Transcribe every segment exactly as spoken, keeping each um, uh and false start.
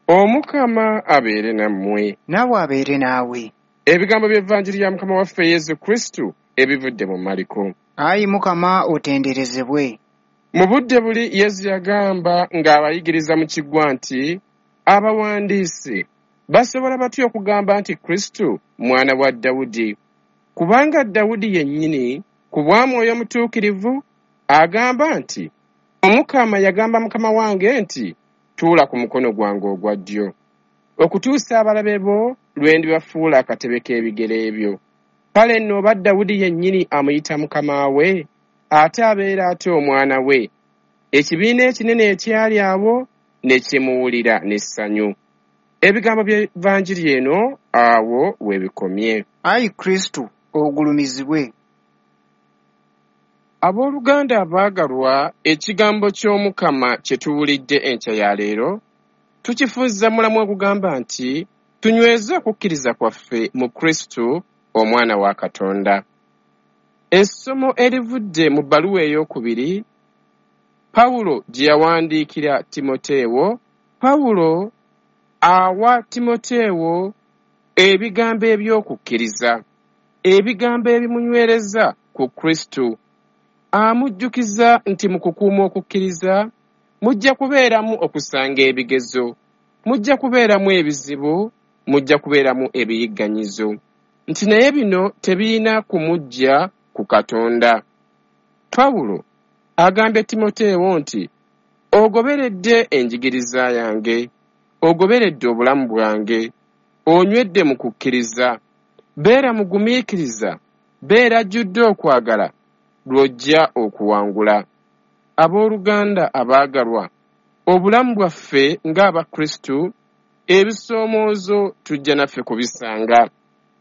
Omukama abeere nammwe. Naawe abeere naawe. Ebigambo by'Evanjiri ya Mukama waffe Yesu Kristu ebivudde mu Maliko. Ayi Mukama otenderezebwe. Mu budde buli Yesu yagamba ng'abayigiriza mu kiggwa nti abawandiisi basobola batya okugamba nti Kristu mwana wa Dawudi, kubanga Dawudi yennyini ku bwa Mwoyo Mutuukirivu agamba nti Omukama yagamba Mukama wange nti tuula ku mukono gwange ogwa ddyo okutuusa abalabe bo lwe ndibafuula akatebe k'ebigere byo. Kale nno oba Dawudi yennyini amuyita Mukama we, ate abeera atya omwana we? Ekibiina ekinene ekyali awo ne kimuwulira n'essanyu. Ebigambo by'Evanjiri eno awo we bikomye. Ayi Kristu ogulumizibwe. Abooluganda abaagalwa, ekigambo ky'Omukama kye tuwulidde enkya ya leero tukifunza mulamu ogugamba nti tunyweze okukkiriza kwaffe mu Kristu omwana wa Katonda. Essomo erivudde mu bbaluwa ey'okubiri Pawulo gye yawandiikira Timoteewo. Pawulo awa Timoteewo ebigambo eby'okukkiriza, ebigambo ebimunywereza ku Kristu. Amujjukiza nti mu kukuuma okukkiriza mujja kubeeramu okusanga ebigezo, mujja kubeeramu ebizibu, mujja kubeeramu ebiyigganyizo, nti naye bino tebirina kumujja ku Katonda. Pawulo agambye Timoteewo nti ogoberedde enjigiriza yange, ogoberedde obulamu bwange, onywedde mu kukkiriza, beera mugumiikiriza, beera ajjudde okwagala, lw'ojja okuwangula. Abooluganda abaagalwa, obulamu bwaffe ng'Abakristu, ebisoomoozo tujja naffe kubisanga.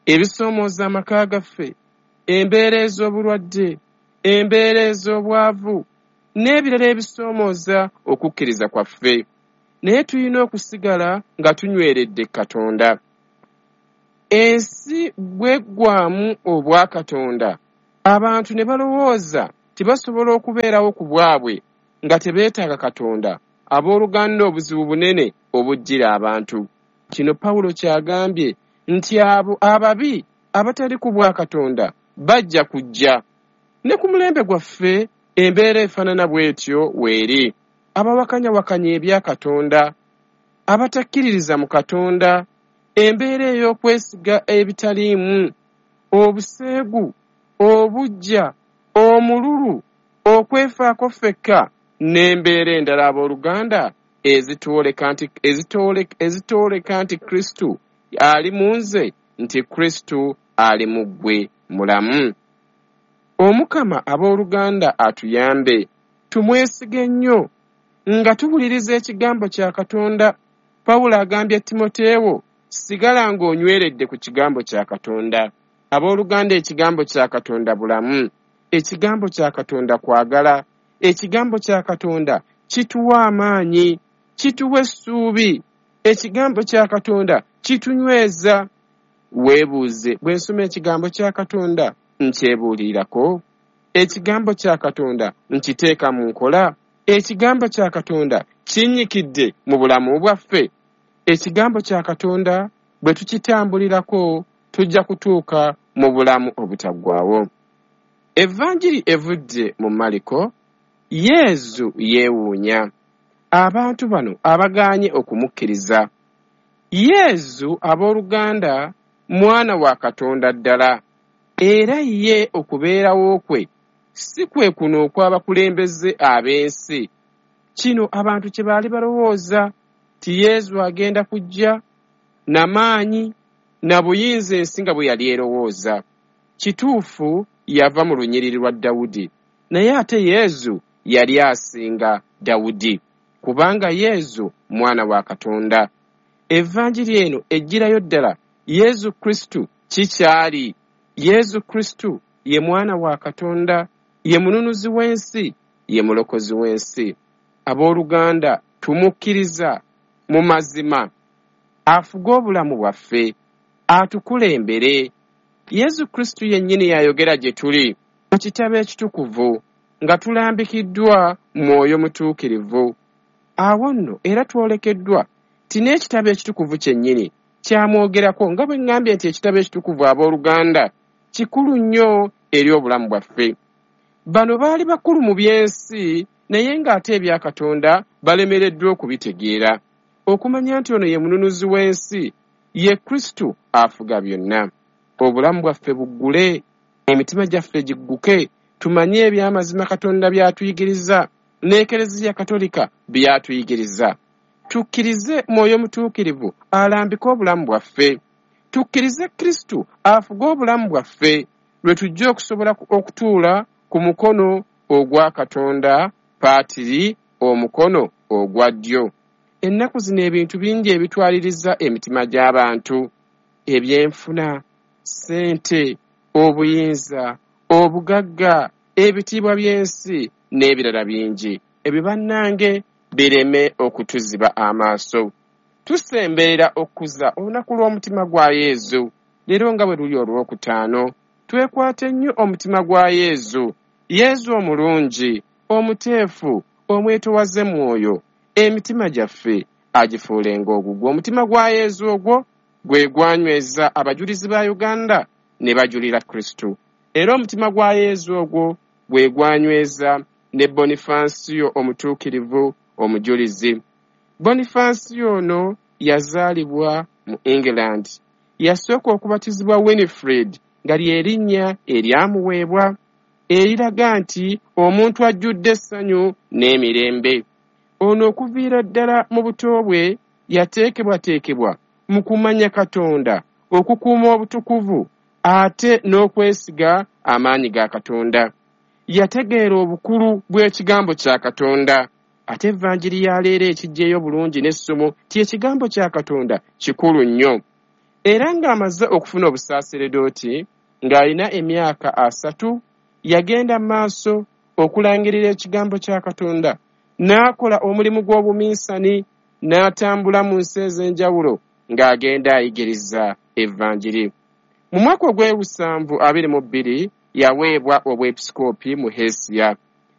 Ebisoomoozo amaka gaffe, embeera ez'obulwadde, embeera ez'obwavu, n'ebirala ebisoomooza okukkiriza kwaffe. Naye tulina okusigala nga tunyweredde Katonda. Ensi bw'eggwaamu obwakatonda, abantu ne balowooza tibasobola okubeerawo ku bwabwe nga tebeetaaga Katonda. Abooluganda, obuzibu bunene obujjira abantu. Kino Pawulo ky'agambye nti abo ababi abatali ku bwa Katonda bajja kujja. Ne ku mulembe gwaffe embeera efaanana bw'etyo weeri. Abawakanyawakanya ebya Katonda, abatakkiririza mu Katonda, embeera ey'okwesiga ebitaliimu, obuseegu, obuggya, omululu, okwefaako ffekka n'embeera endala abooluganda ezitwoleka nti, ezitwoleka, ezitwoleka nti Kristu ali mu nze, nti Kristu ali mu ggwe mulamu. Omukama abooluganda atuyambe, tumwesige nnyo nga tuwuliriza ekigambo kya Katonda. Pawulo agambye Timoteewo, sigala ng'onyweredde ku kigambo kya Katonda. Abooluganda, ekigambo kya Katonda bulamu, ekigambo kya Katonda kwagala, ekigambo kya Katonda kituwa amaanyi, kituwa essuubi, ekigambo kya Katonda kitunyweza. Weebuuze, bwe nsoma ekigambo kya Katonda nkyebuulirako? Ekigambo kya Katonda nkiteeka mu nkola? Ekigambo kya Katonda kinnyikidde mu bulamu bwaffe? Ekigambo kya Katonda bwe tukitambulirako tujja kutuuka mu bulamu obutaggwaawo. Evanjiri evudde mu Maliko, Yesu yeewuunya abantu bano abagaanye okumukkiriza. Yesu abooluganda mwana wa Katonda ddala, era ye okubeerawo kwe si kwe kuno okw'abakulembeze ab'ensi. Kino abantu kye baali balowooza nti Yesu agenda kujja na maanyi na buyinza ensi nga bwe yali erowooza. Kituufu yava mu lunyiriri lwa Dawudi, naye ate Yesu yali asinga Dawudi, kubanga Yesu mwana wa Katonda. Evanjiri eno ejjirayo ddala Yesu Kristu kikyali. Yesu Kristu ye mwana wa Katonda, ye mununuzi w'ensi, ye mulokozi w'ensi. Abooluganda, tumukkiriza mu mazima, afuge obulamu bwaffe, atukulembere. Yesu Kristu yennyini yayogera gye tuli mu kitabo ekitukuvu nga tulambikiddwa Mwoyo Mutuukirivu. Awo nno era twolekeddwa Ti n'ekitabo ekitukuvu kyennyini kyamwogerako, nga bwe ŋŋambye nti ekitabo ekitukuvu abooluganda kikulu nnyo eri obulamu bwaffe. Bano baali bakulu mu by'ensi, naye ng'ate ebya Katonda balemereddwa okubitegeera, okumanya nti ono ye mununuzi w'ensi, ye Kristo afuga byonna. Obulamu bwaffe buggule, emitima gyaffe gigguke, tumanye ebyamazima Katonda by'atuyigiriza n'Ekereziya Katolika by'atuyigiriza. Tukkirize Mwoyo Mutuukirivu alambike obulamu bwaffe. Tukkirize Kristo afuge obulamu bwaffe, lwe tujja okusobola okutuula ku mukono ogwa Katonda Paatiri, omukono ogwa ddyo. Ennaku zino ebintu bingi ebitwaliriza emitima gy'abantu: ebyenfuna, ssente, obuyinza, obugagga, ebitiibwa by'ensi n'ebirala bingi. Ebyo bannange bireme okutuziba amaaso. Tusemberera okukuza olunaku lw'omutima gwa Yezu. Leero nga bwe luli olwokutaano, twekwate nnyo omutima gwa Yezu. Yezu omulungi, omuteefu, omwetowaze mwoyo, emitima gyaffe agifuulenga ogugwo. Omutima gwa Yezu ogwo gwe gwanyweza abajulizi ba Uganda ne bajulira Kristo. Era omutima gwa Yezu ogwo gwe gwanyweza ne Bonifansio omutuukirivu omujulizi. Bonifansio ono yazaalibwa mu England. Yasooka okubatizibwa Winifred, nga ly'erinnya eryamuweebwa, eriraga nti omuntu ajjudde essanyu n'emirembe. Ono okuviira ddala mu buto bwe yateekebwateekebwa mu kumanya Katonda, okukuuma obutukuvu, ate n'okwesiga amaanyi ga Katonda. Yategeera obukulu bw'ekigambo kya Katonda. Ate evanjiri ya leero ekiggyeyo bulungi n'essomo ti ekigambo kya Katonda kikulu nnyo. Era ng'amaze okufuna obusaaseredooti ng'alina emyaka asatu, yagenda mu maaso okulangirira ekigambo kya Katonda, n'akola omulimu gw'obuminsani, n'atambula mu nsi ez'enjawulo ng'agenda ayigiriza evanjiri. Mu mwaka ogw'ebusanvu abiri mu bbiri yaweebwa obwepisikoopi mu Hesiya.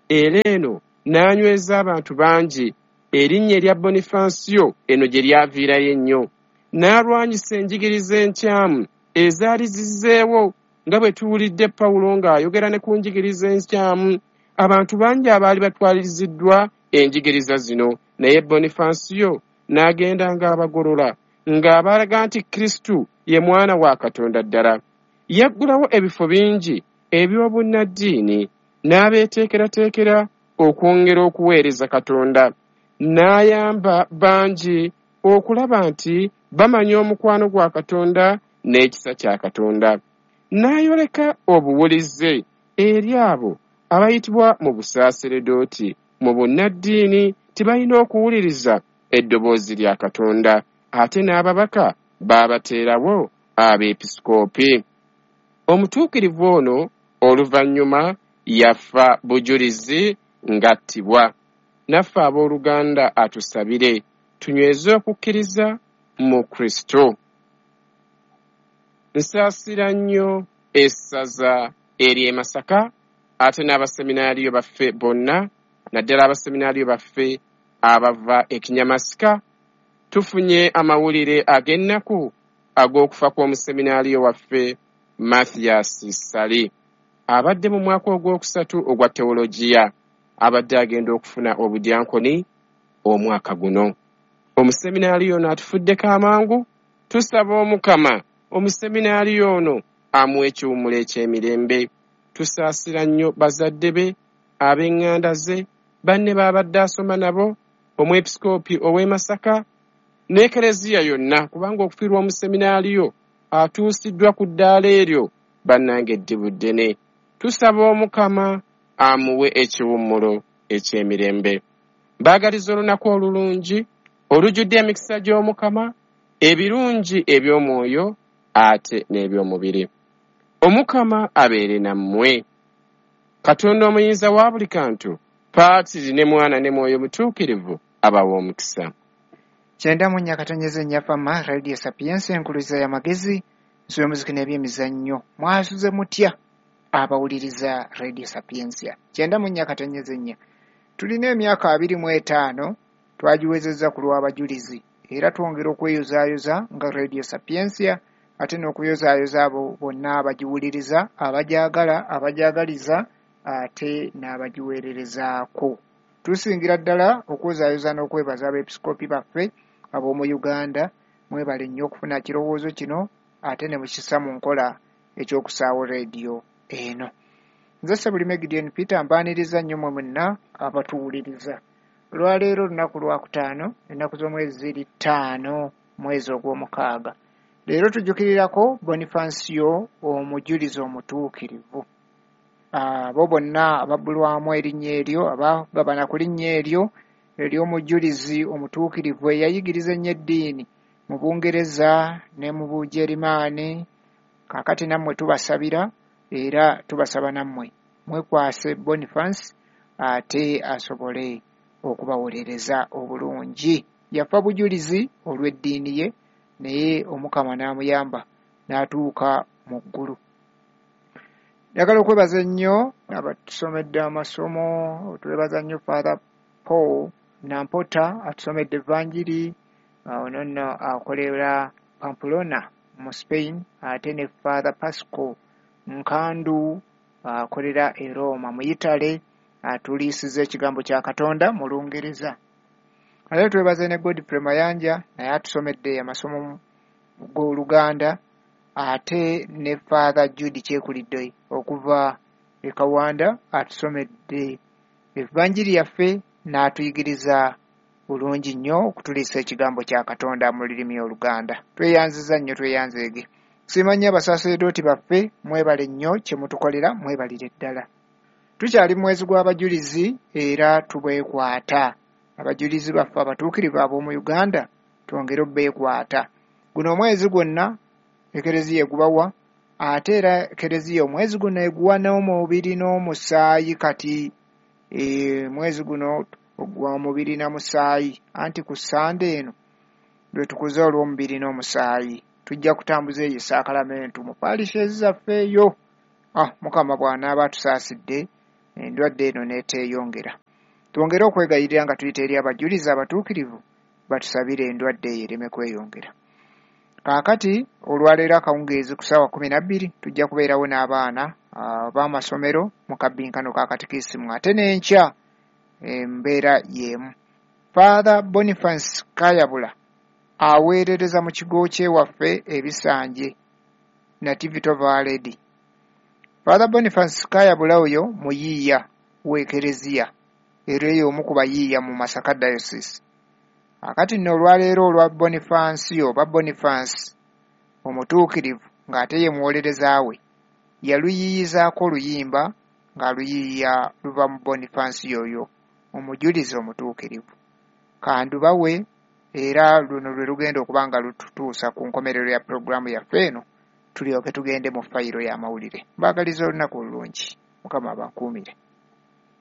Era eno n'anyweza abantu bangi. Erinnya erya Bonifansio eno gye lyaviirayo ennyo. N'alwanyisa enjigiriza enkyamu ezaali zizzeewo, nga bwe tuwulidde Pawulo ng'ayogera ne ku njigiriza enkyamu. Abantu bangi abaali batwaliriziddwa enjigiriza zino, naye Bonifansio n'agenda ng'abagolola, ng'abalaga nti Kristo ye mwana wa Katonda ddala. Yaggulawo ebifo bingi eby'obunnaddiini, n'abeeteekerateekera okwongera okuweereza Katonda. N'ayamba bangi okulaba nti bamanya omukwano gwa Katonda n'ekisa kya Katonda. N'ayoleka obuwulize eri abo abayitibwa mu busaaseredooti mu bunnaddiini tibalina okuwuliriza eddoboozi lya Katonda, ate n'ababaka baabateerawo abeepisikoopi. Omutuukirivu ono oluvannyuma yafa bujulizi ng'attibwa. Naffe abooluganda atusabire tunyweze okukkiriza mu Kristo. Nsaasira nnyo essaza ery'e Masaka, ate n'abaseminaariyo baffe bonna, naddala abaseminaariyo baffe abava e Kinyamasika. Tufunye amawulire ag'ennaku ag'okufa kw'omuseminaariyo waffe Mathias Ssali, abadde mu mwaka ogwokusatu ogwa teologiya, abadde agenda okufuna obudyankoni omwaka guno. Omuseminaariyo ono atufuddeko amangu. Tusaba Omukama omuseminaariyo ono amuwe ekiwummulo eky'emirembe. Tusaasira nnyo bazadde be, ab'eŋŋanda ze, banne b'abadde asoma nabo, omwepisikoopi ow'e Masaka n'ekereziya yonna, kubanga okufiirwa omuseminaariyo atuusiddwa ku ddaala eryo bannange eddibu ddene. Tusaba Omukama amuwe ekiwummulo eky'emirembe. Mbaagaliza olunaku olulungi olujjudde emikisa gy'Omukama, ebirungi eby'omwoyo ate n'eby'omubiri. Omukama abeere nammwe. Katonda omuyinza wa buli kantu, Paatiri ne Mwana ne Mwoyo Mutuukirivu abawe omukisa. Kyenda mu nnya katonyeze nnya Fama Radio Sapientia, enkuluza y'amagezi, nsi y'omuziki n'ebyemizannyo. Mwasuze mutya abawuliriza Radio Sapientia? Kyenda mu nnya katonyeze nnya. Tulina emyaka abiri mu etaano twagiwezezza ku lw'abajulizi. Era twongera okweyozaayoza nga Radio Sapientia, ate n'okuyozaayoza abo bonna abagiwuliriza, abagyagala, abagyagaliza ate n'abagiweererezaako. Tusingira ddala okwozaayoza n'okwebaza abeepisikoopi baffe ab'omu Uganda. Mwebale nnyo okufuna kirowoozo kino ate ne mukissa mu nkola eky'okusaawo rediyo eno. Nze Ssebulime Gideon Peter, mbaaniriza nnyo mmwe mwenna abatuwuliriza. Olwaleero olunaku lwakutaano, ennaku z'omwezi ziri ttaano, mwezi ogw'omukaaga. Leero tujjukirirako Bonifansio omujulizi omutuukirivu. Abo bonna ababbulwamu erinnya eryo, abagabana ku linnya eryo ery'omujulizi omutuukirivu eyayigiriza ennyo eddiini mu Bungereza ne mu Bugerimaani, kaakati nammwe tubasabira era tubasaba nammwe mwekwase Boniface ate asobole okubawolereza obulungi. Yafa bujulizi olw'eddiini ye, naye Omukama n'amuyamba n'atuuka mu ggulu. Njagala okwebaza ennyo abatusomedde amasomo. Twebaza nnyo Father Paul Nampota atusomedde Evanjiri, ono nno akolera Pamplona mu Spain, ate ne Father Pascal Nkandu akolera e Roma mu Italy, atuliisiza ekigambo kya Katonda mu Lungereza. Ate twebaze ne Godfrey Mayanja, naye atusomedde amasomo g'Oluganda, ate ne Father Jude Kyekulidde okuva e Kawanda atusomedde Evanjiri yaffe n'atuyigiriza bulungi nnyo okutuliisa ekigambo kya Katonda mu lulimi Oluganda. Tweyanziza nnyo, tweyanzeege. Nsiima nnyo abasaaseredooti baffe, mwebale nnyo kye mutukolera, mwebalire ddala. Tukyali mu mwezi gw'abajulizi era tubeekwata. Abajulizi baffe abatuukirivu ab'omu Uganda twongere obbeekwata. Guno omwezi gwonna Ekereziya egubawa, ate era Ekereziya omwezi guno eguwa n'omubiri n'omusaayi. Kati e, mwezi guno ogwa mubiri na musaayi, anti ku Ssande eno lwe tukuza olw'omubiri n'omusaayi. Tujja kutambuza eyo esaakalamentu mu parishes zaffe eyo. Ah, Mukama bw'anaaba atusaasidde endwadde eno n'eteeyongera. Twongere okwegayirira nga tuyita eri abajulizi abatuukirivu batusabire endwadde eyo ereme kweyongera. Kaakati olwaleero akawungeezi ku ssaawa kkumi na bbiri tujja kubeerawo n'abaana ab'amasomero mu kabbinkano ka katikisimu, ate n'enkya embeera y'emu. Father Boniface Kayabula aweerereza mu kigo ky'ewaffe Ebisanje Nativity of Our Lady. Father Boniface Kayabula oyo muyiiya w'Ekereziya, era eyo omu ku bayiiya mu Masaka Diocese. Akati nno olwaleero olwa Bonifansio oba Boniface omutuukirivu ng'ate ye muwolereza we, yaluyiiyizaako oluyimba ng'aluyiiya luva mu Bonifansio oyo omujulizi omutuukirivu. Kandubawe, era luno lwe lugenda okuba nga lututuusa ku nkomerero ya pulogulaamu yaffe eno, tulyoke tugende mu fayiro y'amawulire. Mbaagaliza olunaku olulungi. Mukama abankuumire.